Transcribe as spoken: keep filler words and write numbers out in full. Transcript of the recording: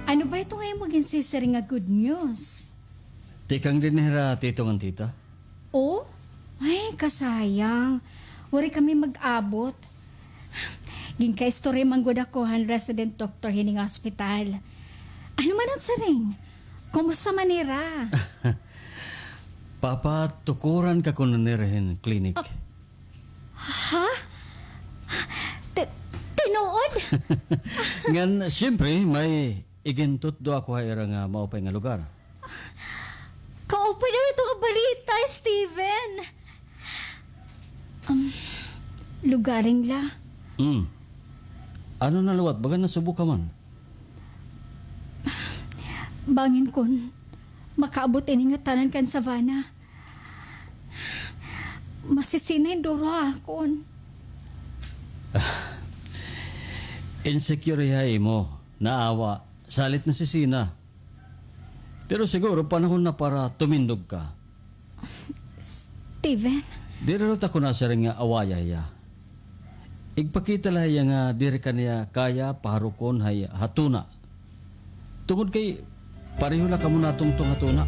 Ano ba ito nga imo ginsisiring nga good news? Tikang dinhi hira tito ngan tita. Oh? Ay, kasayang. Waray kami mag-abot. Ginkaistorya man gud ako han resident doctor hini nga ospital. Ano man an siring? Kumusta man hira? Papatukuran ka kuno nira hin clinic. Ah, ha? Ti-, tinuod? Ngan, siyempre, may igintutdo ako ha ira nga maupay nga lugar. Kaupay daw ito nga balita, Steven. Um, lugaring la. Hmm. Ano na liwat? Baga nasubo ka man. Bangin kon makaabot ini ngatanan kan Savannah. Masisina hin duro ha akon. Insecure hiya ha imo. Naawa, salit nasisina. Pero siguro panahon na para tumindog ka. Steven? Diri liwat ako nasiring nga awaya hiya. Igpakita la hiya nga diri ka niya kaya paharukon ha iya ha tuna. Tungod kay pareho la kamo natungtong ha tuna.